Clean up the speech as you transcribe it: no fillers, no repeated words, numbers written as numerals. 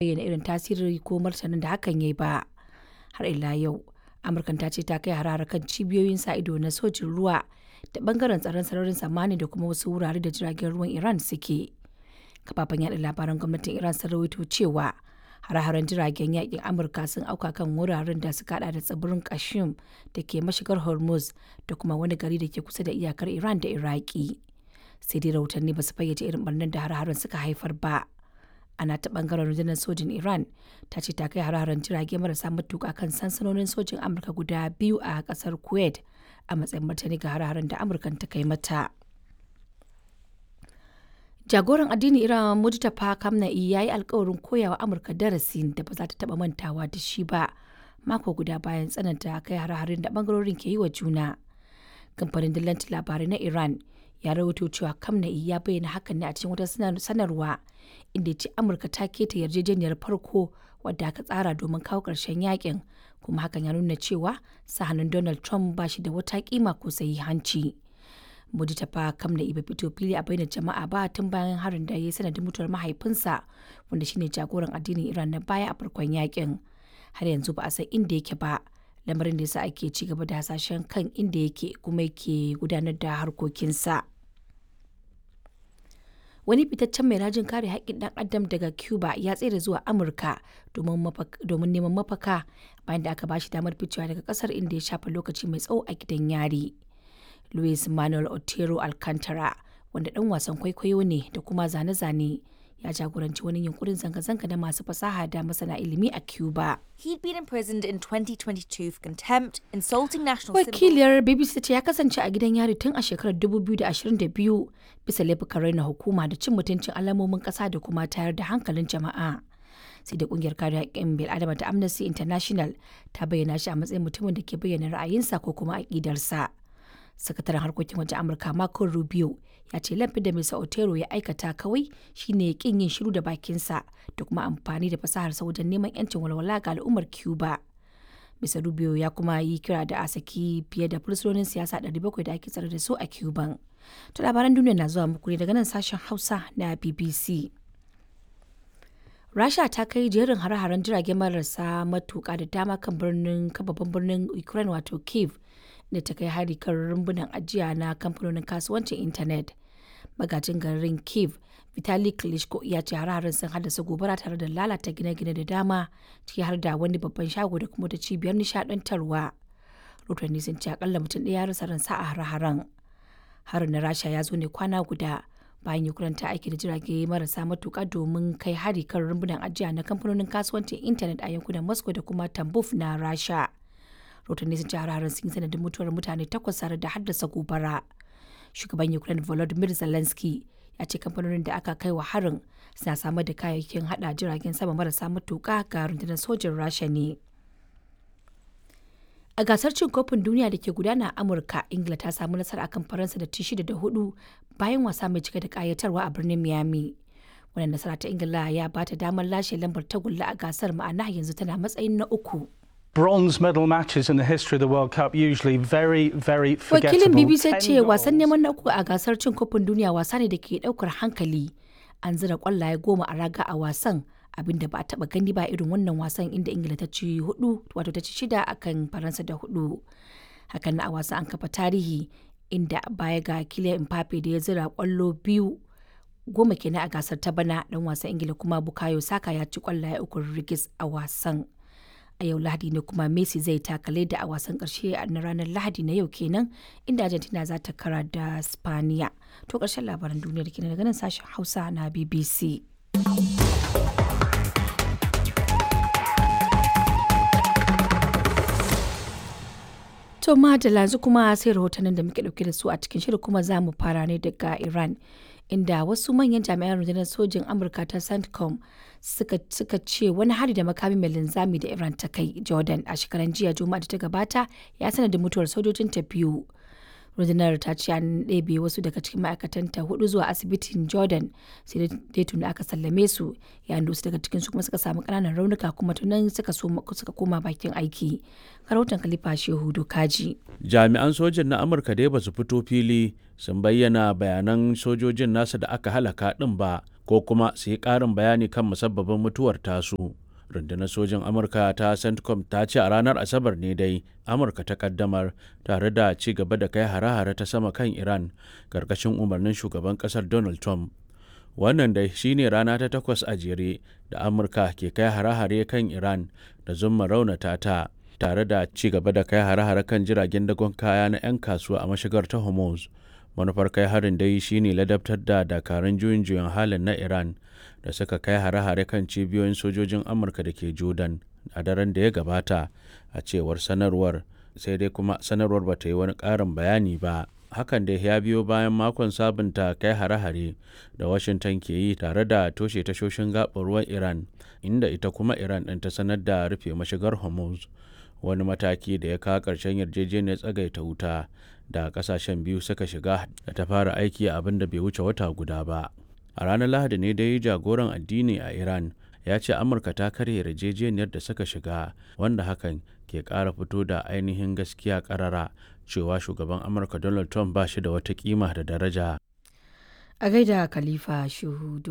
Bayyana irin tasiri ko martanin da hakan ya yi ba. Har ila yau, Amurkan ta ce ta kai hare-hare kan cibiyoyin sa ido na sojin ruwa da bangaren tsaron sararin samaniya da kuma wasu wurare da jiragen ruwan Iran suke. Kafafen yada labaran gwamnatin Iran sun rawaito cewa hare-haren jiragen yakin Amurka sun auka kan wuraren da suka hada da tsibirin Qashm da ke mashigar Hormuz da kuma wani gari da ke kusa da iyakar Iran da Iraki. Sai dai rahotanni ba su fayyace irin barnar da hare-haren suka haifar ba. A nata bangaren rundunar sojin Iran ta ce ta kai hare-haren jirage marasa matuka kan sansanonin sojin Amurka guda biyu a kasar Kuwait a matsayin martani ga hare-haren da Amurkan ta kai mata. Jagoran addinin Iran Mujtaba Khamenei ya yi alkawarin koyawa Amurka darasin da ba za ta taba mantawa da shi ba mako guda bayan tsananta kai hare-haren da bangarorin ke yi wa juna. Kamfanin dillancin labarai na Iran ya rawaito cewa Khamenei ya bayyana hakan ne a cikin wata sanarwa inda ya ce Amurka ta keta yarjejeniyar farko wadda aka tsara domin kawo ƙarshen yakin kuma hakan ya nuna cewa sa hannun Donald Trump ba shi da wata kima ko sahihanci. Mujtaba Khamenei bai fito fili a bainar jama'a ba tun bayan harin da ya yi sanadin mutuwar mahaifinsa wanda shine jagoran addinin Iran na baya a farkon yakin. Har yanzu ba a san inda yake ba. Lamarin da yasa ake ci gaba da hasashen kan inda yake kuma yake gudanar da harkokinsa. Wani fitaccen mai rajin kare haƙƙin ɗan adam daga Cuba ya tsere zuwa Amurka domin neman mafaka bayan da aka ba shi damar ficewa daga ƙasar inda ya shafe lokaci mai tsawo a gidan yari. Luis Manuel Otero Alcantara, wanda ɗan wasan kwaikwayo ne da kuma zane-zane, ya jagoranci wani yunkurin zanga-zanga na masu fasaha da masana ilimi a Cuba. He'd been imprisoned in 2022 for contempt, insulting national symbols. Wakiliyar BBC ta ce ya kasance a gidan yari tun a shekarar 2022 bisa laifukan raina hukuma da cin mutuncin alamomin ƙasa da kuma tayar da hankalin jama'a. Sai da kungiyar kare haƙƙin bil'adama ta Amnesty International ta bayyana shi a matsayin mutumin da ke bayyana ra'ayinsa ko kuma aƙidarsa. Sakataren harkokin wajen Amurka Marco Rubio ya ce laifin da Mr. Otero ya aikata kawai shine kin yin shiru da bakinsa da kuma amfani da fasaharsa wajen neman 'yancin walwala ga al'ummar Cuba. Mr. Rubio ya kuma yi kira da a saki fiye da fursunonin siyasa 700 da ake tsare da su a Cuban. To labaran duniya na zuwa muku ne daga nan sashen Hausa na BBC. Rasha ta kai jerin hare-haren jirage marasa matuka da dama kan birnin babban birnin Ukraine wato Kiev da ta kai hari kan rumbunan ajiya na kamfanonin kasuwancin intanet. Magajin garin Kiev, Vitali Klitschko ya ce hare-haren sun haddasa gobara tare da lalata gine-gine da dama ciki har da wani babban shago da kuma ta cibiyar nishadantarwa. Rotanni sun ce akalla mutum ɗaya ya rasa ransa a hare-haren. Harin na Rasha ya zo ne kwana guda bayan Ukraine ta aiki da jirage marasa matuka domin kai hari kan rumbunan ajiya na kamfanonin kasuwancin intanet a yankunan Moscow da kuma Tambov na Rasha. Rotanni sun ce hare-haren sun yi sanadin mutuwar mutane takwas tare da haddasa gobara. Shugaban Ukraine Volodymyr Zelensky ya ce kamfanonin da aka kai wa harin suna samar da kayayyakin hada jiragen sama marasa matuka ga rundunar sojin Rasha ne. A gasar cin kofin duniya da ke gudana a Amurka, Ingila ta samu nasara akan Faransa da ci 6 da 4 bayan wasa mai cike da kayatarwa a birnin Miami. Wannan nasara ta Ingila ya ba ta damar lashe lambar tagulla a gasar, ma'ana yanzu tana matsayin na uku. Bronze medal matches in the history of the World Cup usually very, very forgettable. Wakilin BBC ce wasan neman na uku a gasar cin kofin duniya wasa ne da ke daukar hankali. An zira kwallaye 10 a raga a wasan, abinda ba a taba gani ba irin wannan wasan, inda Ingila ta ci hudu, wato ta ci shida akan Faransa da hudu. Hakan na a wasan an kafa tarihi inda baya ga Kylian Mbappe da ya zira kwallo biyu, 10 kenan a gasar ta bana, dan wasan Ingila kuma Bukayo Saka ya ci kwallaye uku rigis a wasan. A yau Lahadi ne kuma Messi zai taka leda a wasan karshe na ranar Lahadi na yau kenan, inda Argentina za ta kara da Spaniya. To karshen labaran duniyar kenan daga nan sashen Hausa na BBC. To madalla, yanzu kuma sai rahotannin da muke dauke da su a cikin shirin, kuma za mu fara ne daga Iran, inda wasu manyan jami'an rundunar sojin Amurka ta CENTCOM suka ce wani hari da makami mai linzami da Iran ta kai Jordan a shekaran jiya Juma'a da ta gabata ya sanadin mutuwar sojojin ta biyu. Rundunar ta ce an ɗebe wasu daga cikin ma'aikatanta hudu zuwa asibitin Jordan, sai dai tuni aka sallame su, yayin da wasu daga cikin su kuma suka samu ƙananan raunuka kuma tunan suka koma bakin aiki. Rahoton Khalifa Shehu Dokaji. Jami'an sojin na Amurka dai ba su fito fili sun bayyana bayanan sojojin nasa da aka halaka ɗin ba. ko kuma su yi ƙarin bayani kan musabbabin mutuwar tasu. Rundunar sojin Amurka ta CENTCOM ta ce a ranar Asabar ne dai Amurka ta kaddamar tare da ci gaba da kai hare-hare ta sama kan Iran karkashin umarnin shugaban kasar Donald Trump. Wannan dai shine rana ta takwas a jere da Amurka ke kai hare-hare kan Iran da zumma raunata ta, tare da ci gaba da kai hare-hare kan jiragen dagon kaya na 'yan kasuwa a mashigar ta Hormuz. Manufar kai harin dai shine ladabtar da dakarun juyin juyin halin na Iran da suka kai hare-hare kan cibiyoyin sojojin Amurka da ke Jordan a daren da ya gabata, a cewar sanarwar. Sai dai kuma sanarwar ba ta yi wani ƙarin bayani ba. Hakan da ya biyo bayan makon sabunta kai hare-hare da Washington ke yi tare da toshe tashoshin gaɓar ruwan Iran, inda ita kuma Iran ɗin ta sanar da rufe mashigar Hormuz, wani mataki da ya kawo ƙarshen yarjejeniyar tsagaita wuta da ƙasashen biyu suka shiga da ta fara aiki abin da bai wuce wata guda ba. A ranar Lahadi ne dai jagoran addini a Iran ya ce Amurka ta karya yarjejeniyar da suka shiga, wanda hakan ke ƙara fito da ainihin gaskiya ƙarara cewa shugaban Amurka Donald Trump ba shi da wata kima da daraja. A gaida Khalifa Shehu.